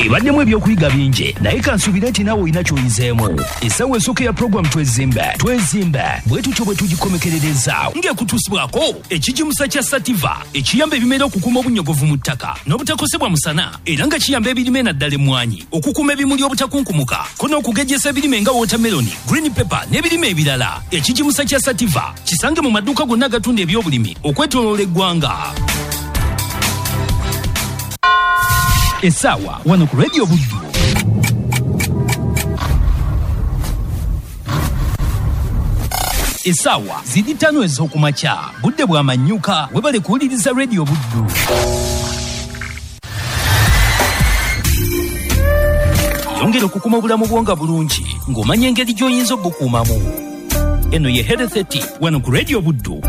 Ebaddemu ebyokuyiga bingi, naye kansuubire nti naawe olina ky'oyizeemu. Essaawa esooka eya puroguramu Twezimbe Twezimbe bwe tutyo bwe tugikomekerereza ng'ekutuusibwako ekigimusa kya Sativa ekiyamba ebimera okukuuma obunnyogovu mu ttaka n'obutakosebwa musana, era nga kiyamba ebirime naddala emmwanyi okukuuma ebimuli obutakunkumuka, ko n'okugejjesa ebirime nga wootameroni, green pepper n'ebirime ebirala. Ekigimusa kya Sativa kisange mu maduuka gonna agatunda ebyobulimi okwetooloola eggwanga. Essaawa wano ku Radio Buddu. Essaawa ziri 5 ez'okumakya, budde bwa manyuka. Webale kuwuliriza Radio Buddu. Yongera okukuuma obulamu bwo nga bulungi ng'omanya engeri gy'oyinza obukuumamu. Eno ye Health Tip wano ku Radio Buddu.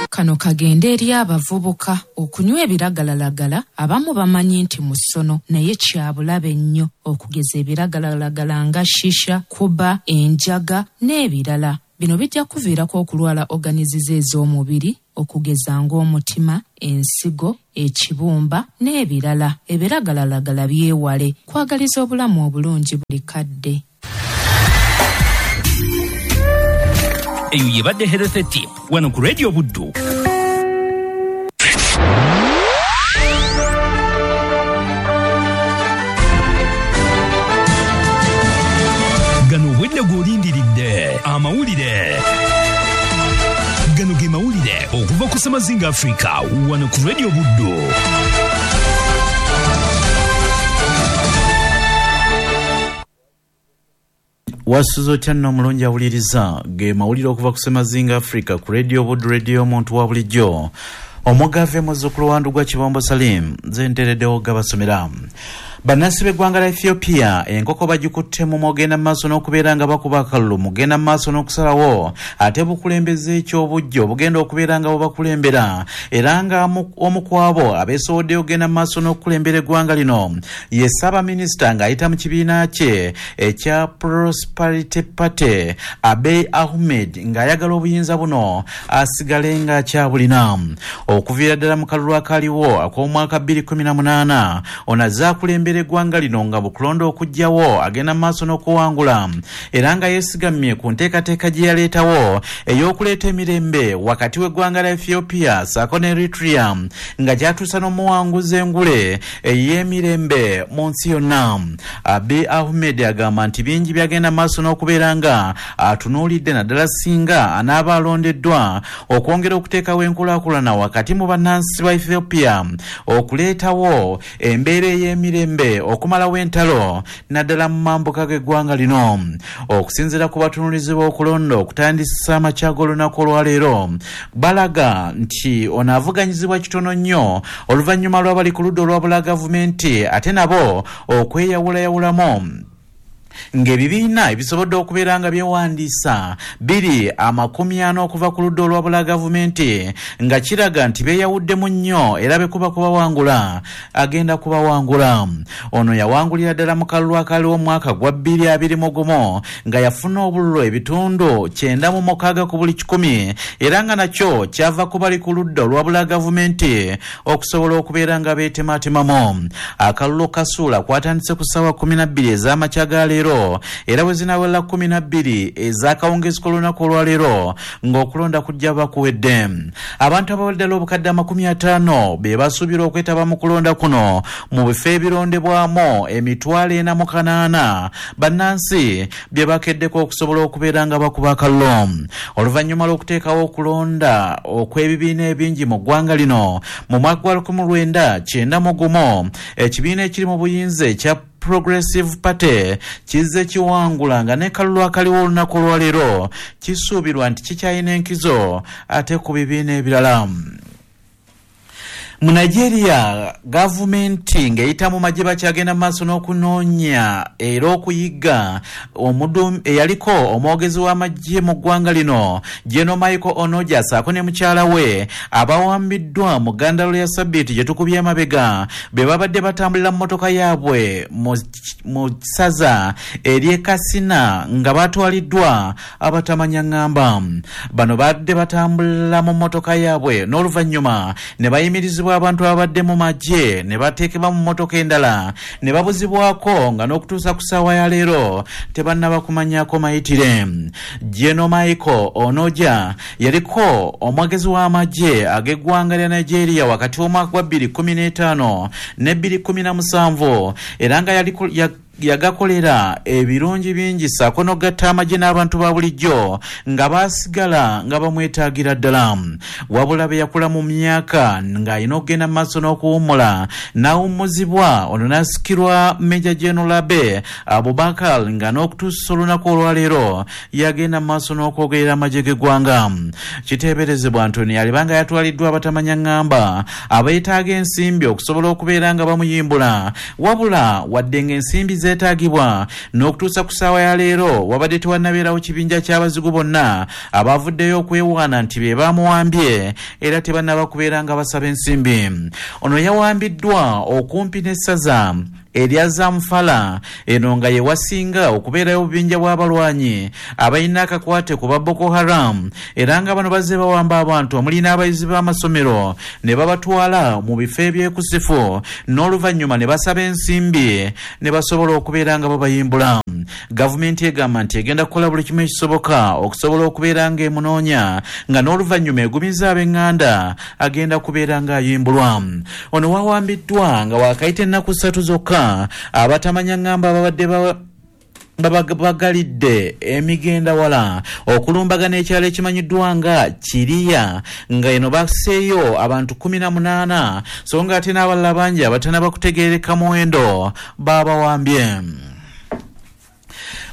Kano kagende eri abavubuka. Okunywa ebiragalalagala abamu bamanyi nti musono, naye kya bulabe nnyo, okugeza ebiragalalagala nga shisha, kuba, enjaga n'ebirala. Bino bijja kuviirako okulwala organiziza ez'omubiri, okugeza ng'omutima, ensigo, ekibumba n'ebirala. Ebiragalalagala byewale. Kwagaliza obulamu obulungi buli kadde. Eyo yebadde Health Tip wano ku Radio Buddu. Gano obwedde gw'olindiridde amawulire. Gano ge mawulire okuva ku Ssemazinga Africa wano ku Radio Buddu. Wasuze otya nno omulungi awuliriza ge mawulire okuva ku Ssemazinga Africa ku Radio Buddu, radio omuntu wa bulijjo. Omugave muzzukulu wa Ndugwa Kibombo Salim, nze ntereddewo gabasomera. Bannansi b'eggwanga lya Ethiopia enkoko bagikutte mu mugenda mu maaso n'okubeera nga bakuba akalulu, mugenda mu maaso n'okusalawo ate bukulembeze eky'obuggya obugenda okubeera nga bubakulembera, era nga omu ku abo abeesoboddeyo okugenda mu maaso n'okukulembera eggwanga lino ye Ssaabaminisita ng'ayita mu kibiina kye ekya Prosperity Party Abiy Ahmed, ng'ayagala obuyinza buno asigale ng'akyabulina. Okuviira ddala mu kalulu akaliwo ak'omwaka 2018 ono azze akulembera eggwanga lino nga bukulonda okuggyawo agenda mu maaso n'okuwangula, era nga yeesigamye ku nteekateeka gye yaleetawo ey'okuleeta emirembe wakati w'eggwanga lya Ethiopia ssaako ne Eritrea, nga kyatuusa n'omuwanguzi engule ey'emirembe mu nsi yonna. Abiy Ahmed agamba nti bingi byagenda maaso n'okubeera nga atunuulidde, naddala singa anaaba alondeddwa, okwongera okuteekawo enkulaakulana wakati mu bannansi ba Ethiopia, okuleetawo embeera ey'emirembe, okumalawo entalo naddala mu mambuka g'eggwanga lino. Okusinziira ku batunuulizi b'okulonda okutandisa amakya g'olunaku olwaleero, balaga nti ono avuganyizibwa kitono nnyo oluvannyuma lw'abali ku ludda olwabula gavumenti ate nabo okweyawulayawulamu, ng'ebibiina ebisobodde okubeera nga byewandiisa biri 40 okuva ku ludda olwabula gavumenti, nga kiraga nti beeyawuddemu nnyo era bekuba kubawangula agenda kubawangula. Ono yawangulira ddala mu kalulu akaliwo omwaka gwa 2021 nga yafuna obululu ebitundu 96 ku buli 100, era nga nakyo kyava ku bali ku ludda olwabula gavumenti okusobola okubeera nga beetemaatemamu. Akalulu kasuula kwatandise ku ssaawa 12 ez'amakya ga leero, era bwe zinawera 12 ez'akawungeezi k'olunaku olwaleero ng'okulonda kujja bakuwedde. Abantu abawera ddala obukadde 50 be basuubirwa okwetaba mu kulonda kuno mu bifo ebirondebwamu 4,800 bannansi bye bakeddeko okusobola okubeera nga bakuba akalulu. Oluvannyuma lw'okuteekawo okulonda okw'ebibiina ebingi mu ggwanga lino mu mwaka gwa 1991, ekibiina ekiri mu buyinza ekya Progressive Party kizze kiwangula, nga ne kalulu akaliwo olunaku olwaleero kisuubirwa nti kikyalina enkizo ate ku bibiina ebirala. Mu Nigeria, gavumenti ng'eyita mu magye bakyagenda mu maaso n'okunoonya era okuyigga eyaliko omwogezi w'amagye mu ggwanga lino General Michael Onoja ssaako ne mukyala we abawambiddwa mu ggandalo lya sabbiiti gye tukubye emabega bwe babadde batambulira mu mmotoka yaabwe mu ssaza ery'e Katsina nga batwaliddwa abatamanya ŋŋamba. Bano badde batambulira mu mmotoka yaabwe n'oluvannyuma ne bayimirizibwa okukwatibwa abantu ababadde mu magye ne bateekebwa mu mmotoka endala ne babuzibwako nga n'okutuusa ku ssaawa ya leero tebannaba kumanyako mayitire. Geno Michael Onoja yaliko omwogezi w'amagye ag'eggwanga lya Nigeria wakati w'omwaka gwa 2015 ne 2017 era nga yagakolera ebirungi bingi ssaako n'okugatta amagye n'abantu ba bulijjo nga baasigala nga bamwetaagira ddala. Wabula be yakula mu myaka ng'alina okugenda mu maaso n'okuwummula n'awummuzibwa ono n'asikirwa Major General Abe Abubakar nga n'okutuusa olunaku olwaleero yagenda mu maaso n'okwogerera amagye g'eggwanga. Kiteeberezebwa nti ono yalibanga yatwaliddwa abatamanya ŋŋamba abeetaaga ensimbi okusobola okubeera nga bamuyimbula, wabula wadde ng'ensimbi zeetaagibwa n'okutuusa ku ssaawa ya leero wabadde tewannabeerawo kibinja ky'abazigu bonna abavuddeyo okwewaana nti be baamuwambye era tebannaba kubeera nga basaba ensimbi. Ono yawambiddwa okumpi n'essaza erya Zamfara eno nga ye wasinga okubeerayo obubinja bw'abalwanyi abalina akakwate ku ba Boko Haram era nga bano bazze bawamba abantu omuli n'abayizi b'amasomero ne babatwala mu bifo ebyekusifu n'oluvannyuma ne basaba ensimbi ne basobola okubeera nga babayimbula. Gavumenti egamba nti egenda kukola buli kimu ekisoboka okusobola okubeera nga emunoonya nga n'oluvannyuma egumiza ab'eŋŋanda agenda kubeera ng'ayimbulwa. Ono wawambiddwa nga waakayita ennaku 3 zokka abatamanya ŋŋamba babadde bagalidde emigenda wala okulumbagana ekyalo ekimanyiddwa nga Kiriya nga eno baseeyo abantu 18 so nga ate n'abalala bangi abatannaba kutegeereka muwendo baabawambye.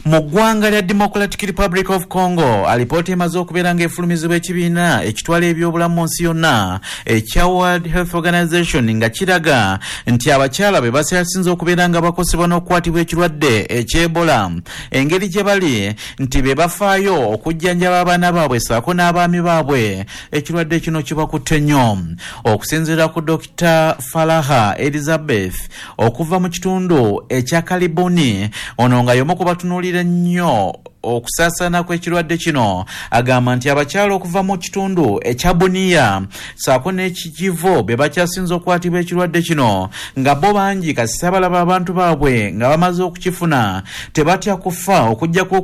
Mu ggwanga lya Democratic Republic of Congo, alipoota emaze okubeera ng'efulumizibwa ekibiina ekitwala ebyobulamu mu nsi yonna ekya World Health Organization nga kiraga nti abakyala be bakyasinze okubeera nga bakosebwa n'okukwatibwa ekirwadde eky'Ebola engeri gye bali nti be bafaayo okujjanjaba abaana baabwe ssaako n'abaami baabwe ekirwadde kino kibakutte nnyo. Okusinziira ku Dr. Faraha Elizabeth okuva mu kitundu ekya Kaliboni, ono nga y'omu ku batunuulira nnyo okusaasaana kw'ekirwadde kino agamba nti abakyala okuva mu kitundu ekya Bunia ssaako n'ekikivo be bakyasinze okukwatibwa ekirwadde kino nga bo bangi kasita balaba abantu baabwe nga bamaze okukifuna tebatya kufa okuggyako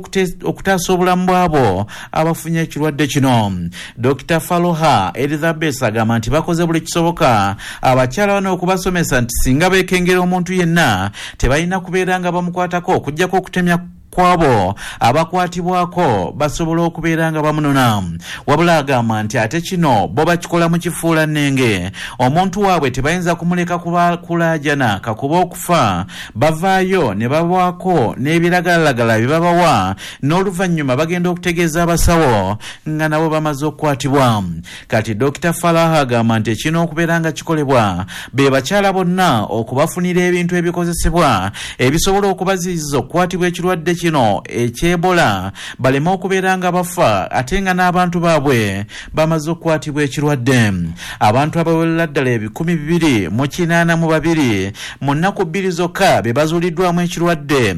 okutaasa obulamu bwabo abafunye ekirwadde kino. Dr. Faloha Elizabeth agamba nti bakoze buli kisoboka abakyala bano okubasomesa nti singa beekengera omuntu yenna tebalina kubeera nga bamukwatako okuggyako okutemya kwabo abakwatibwako basobola okubeera nga bamunona. Wabula agamba nti ate kino bo bakikola mu kifuula nnenge, omuntu waabwe tebayinza kumuleka kulaajana kakuba okufa, bavaayo ne babawaako n'ebiragalalagala bye babawa n'oluvannyuma bagenda okutegeeza abasawo nga nabo bamaze okukwatibwa. Kati Dr. Faraha agamba nti ekirina okubeera nga kikolebwa be bakyala bonna okubafunira ebintu ebikozesebwa ebisobola okubaziyiza okukwatibwa ekirwadde kino eky'Ebola baleme okubeera nga bafa ate nga n'abantu baabwe bamaze okukwatibwa ekirwadde. Abantu abawerera ddala 2,082 mu nnaku 2 zokka be bazuuliddwamu ekirwadde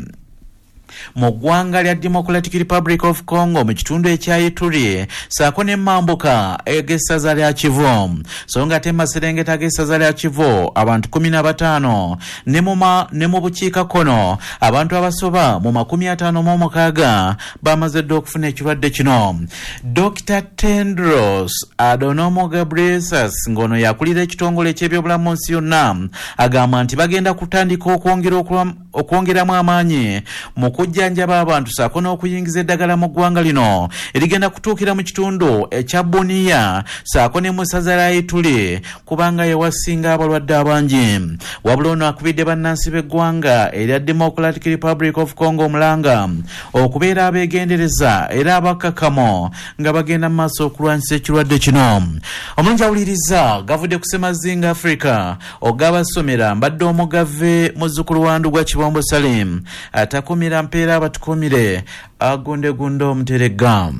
mu ggwanga lya Democratic Republic of Congo mu kitundu ekya Ituri ssaako ne Mambuka ag'essaza lya Kivu. So nga ate mu maserengeta ag'essaza lya Kivu abantu 15 ne mu bukiikakkono abantu abasoba mu 56 bamaze dda okufuna ekirwadde kino. Dr. Tedros Adhanom Ghebreyesus ng'ono yakulira ekitongole eky'ebyobulamu mu nsi yonna agamba nti bagenda kutandika okwongeramu amaanyi mu kujjanjaba abantu ssaako n'okuyingiza eddagala mu ggwanga lino erigenda kutuukira mu kitundu ekya Bunia ssaako ne mu ssaza lya Ituri kubanga yewasinga abalwadde abangi. Wabula ono akubidde bannansi b'eggwanga erya Democratic Republic of Congo omulanga okubeera abeegendereza era abakkakkamu nga bagenda mu maaso okulwanyisa ekirwadde kino. Omulungi awuliriza gavudde ku Ssemazinga Africa ogabasomera mbadde omugave muzzukulu wa Ndugwa Kibombo Salim atakumira mpeera abatukumire agundegunde omuteregga.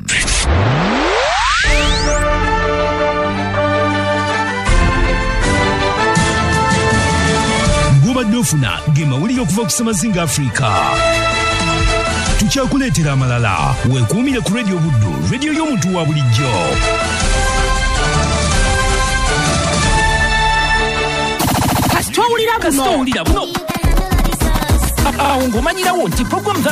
Gobadde ofuna ge mawulire okuva ku Ssemazinga Africa. Tukyakuleetera amalala. Weekuumire ku Radio Buddu, radio y'omuntu wa bulijjo. owulira Kasita buno. owulira buno, awo ng'omanyirawo nti puroguramu za